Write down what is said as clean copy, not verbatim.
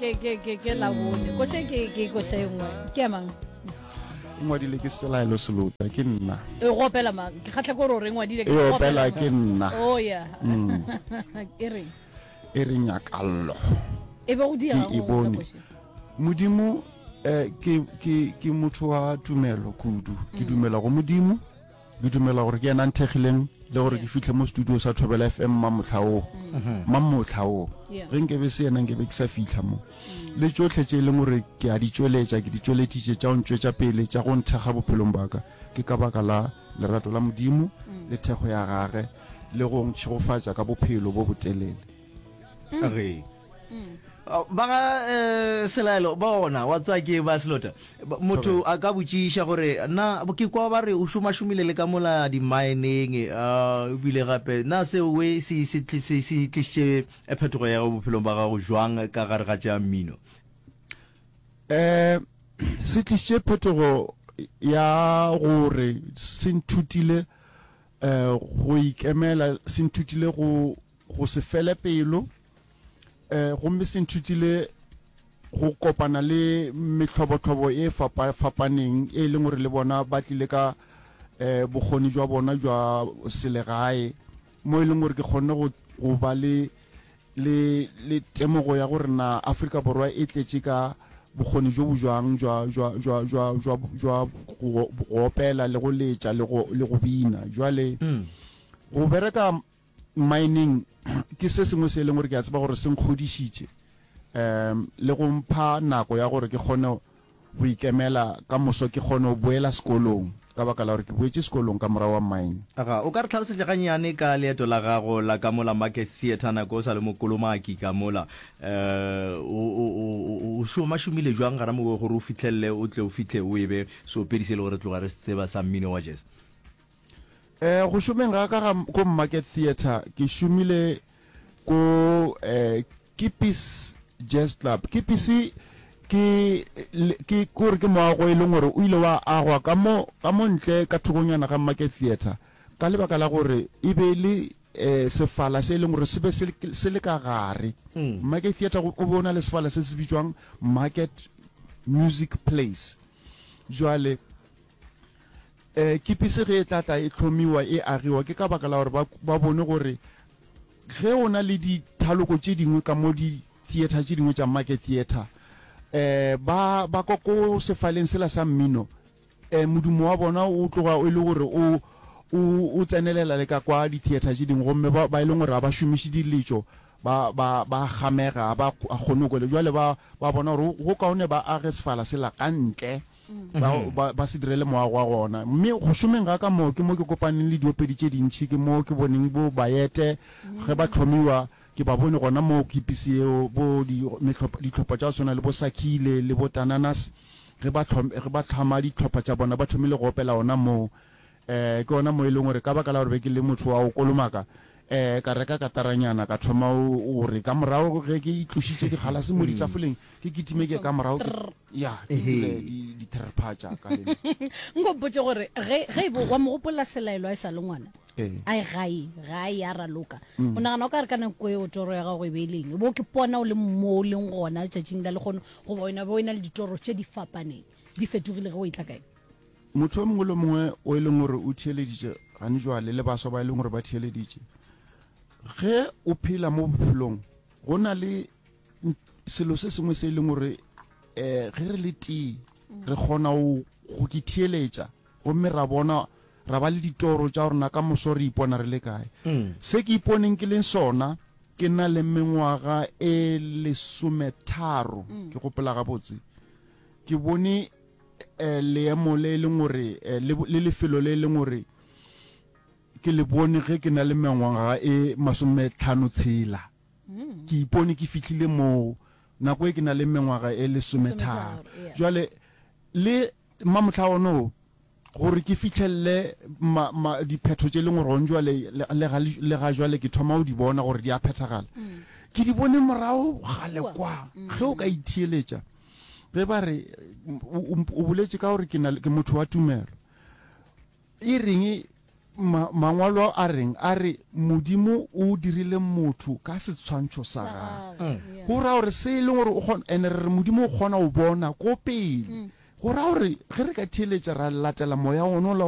Ke ke ke ke labone. Koša ke ke koša e nngwe. Ke ya mang? E ngwadile ke Selaelo Selota, ke nna. E go opela mang? Ke kgatlha ke gore o re ngwadile ke E opela ke nna. Oh yeah. E reng? E re nyakallo. E be go diega Ke e bone. Modimo eh ke ke ke motho wa tumelo kudu. Ke dumela go Modimo. Ke dumela gore ke yena a nthekgileng le gore ke fihle mo studio sa Thobela FM mamohla wo. Mamohla wo. Ge nkebe se yena nkebe ke sa fihla mo. Le tšohle tše e leng gore ke a di tšweletša, ke di tšweleditše tša go ntšwetša pele, tša go nthekga bophelong bwa ka, ke ka baka la lerato la Modimo le thekgo ya gage le go ntšhegofatša ka bophelo bo botelele. Re. Ba ga Selaelo bona wa tswa ke ba Selota. Motho a ka botšiša gore na ke kwa ba re o šomašomile le ka mola di-mineng ebile gape na seo we se se se se tlišitše phetogo ya gago bophelong ba gago jwang ka gare ga tša mmino? Um se tlišitše phetogo ya gore se nthutile um go ikemela, se nthutile go go se fele pelo, um gomme se nthutile go kopana le mehlobohlobo e fapa-fapaneng e leng gore le bona ba tlile ka um bokgoni jwa bona jwa selegae, mo e leng gore ke kgonne go, go ba le, le, le temogo ya gore na Afrika Borwa e tletše ka bokgoni bjo bo jwang jwa, jwa, jwa, jwa, jwa, jwa go, go opela le go letša le go, le go bina. Jwale go bereka Mining ke se sengwe se e leng gore ke a tseba gore se nkgodišitše um le go mpha nako ya gore ke kgone go ikemela ka moso, ke kgone go boela sekolong ka baka la gore ke boetše sekolong ka morago wa mine. Aga, o ka re hlalosetša gannyane ka leeto la gago la ka mola Market Theatre nako o sa le mokolomaki ka mola? Um o, o, o, o šomašomile jwang gana moo gore o fihlelele o tle o fihle o ebe seopedi se e le gore re tloga re se tseba sa mmino wa jazz? Eh, go šomeng ga ka ga ko Market Theatre, ke šomile ko eh, Kipis Jazz Club. Kipis ke ke kore ke moago e leng gore o ile wa agwa ka mo ka mo ntle ka thokonyana ga Market Theatre ka lebaka la gore e be e le eh, sefala se e leng gore se be se le ka gare. Market Theatre o be o na le sefala se se bitswang Market Music Place. Jwale E, Kipisi ge e tla tla e hlomiwa, e agiwa, ke ka baka la gore ba, ba bone gore ge o na le dithaloko tše dingwe ka mo di-theatre tše dingwe tša Market Theatre, e, ba, ba kwa ko sefaleng sela sa mmino, e, modumo wa bona o tloga e le gore o, o, o tsenelela le ka kwa di-theatre tše dingwe, gomme ba, ba e leng gore ga ba šomiše diletšo, ba, ba, ba gamega, ga ba kgone go kwele. Bjale ba, ba bona gore go kaone ba age sefala sela ka ntle. ba, ba, ba se direle moago wa gona. Mme go šomeng ga ka moo ke mo ke kopaneng le diopedi tše dintši, ke mo ke boneng bo Bayete ge ba hlomiwa, ke ba bone gona moo kipisi yeo, bo di, mehlopha, dihlopha tša go swana le bo Sakhile le bo Tananas, ge ba hlom, ge ba hlama dihlopha tša bona, ba thomile go opela gona moo. Um ke gona mo e leng gore ka baka la gore be ke le motho wa go kolomaka, um ka reka kataranyana ka thoma gore ka morago ge ke itlošitše digalase mo ditafoleng, ke kitime ke ka morago ke, ya, ke dule ditherpha tša ka le nna. Nko mpotše gore ge, ge e bo wa mo gopola Selaelo a e sa le ngwana, Ee. a e gae, gae a raloka, o nagana o ka re ka nako eo toro ya gago e be e le eng? E bo ke pona o le mo o leng gona letšatšing la lehono, goba wena be o e na le ditoro tše di fapaneng, di fetogile ge o etla kae? Motho yo mongwe le mongwe o e leng gore o theeleditše gane jwale, le baswa ba e leng gore ba theeleditše, ge o phela mo bophelong go na le selo se sengwe se e leng gore um ge re le tee re kgona go ke theeletša gomme ra bona ra ba le ditoro tša rona ka moso re ipona re le kae. Se ke iponeng ke leng sona ke na le mengwaga e lesometharo, ke gopola gabotse, ke bone eh, leemo le e leng gore eh, le, le lefelo le e leng gore ke le bone ge ke na le mengwaga e masometlhano tshela. Mm. Ke ipone ke fihlile moo nako e ke na le mengwaga e lesometharo. Jwale le mamohla ono gore ke fihlelele ma, ma, diphetho tše leng gore gone jwale le, le, ga, le ga jwale ke thoma go di bona gore di a phethagala. Mm. Ke di bone morago gale kwa. Mm. Ge o ka itheeletša Ge ba re, o, o, o boletše ka gore ke na, ke motho wa tumelo. E reng? Ma, mangwalo a reng? A re Modimo o dirile motho ka setshwantšho sa gagwe. Go ra gore se e leng gore o kgona, ene re re Modimo o kgona go bona ko pele. Go ra gore ge re ka theeletša ra latela moya ona ola.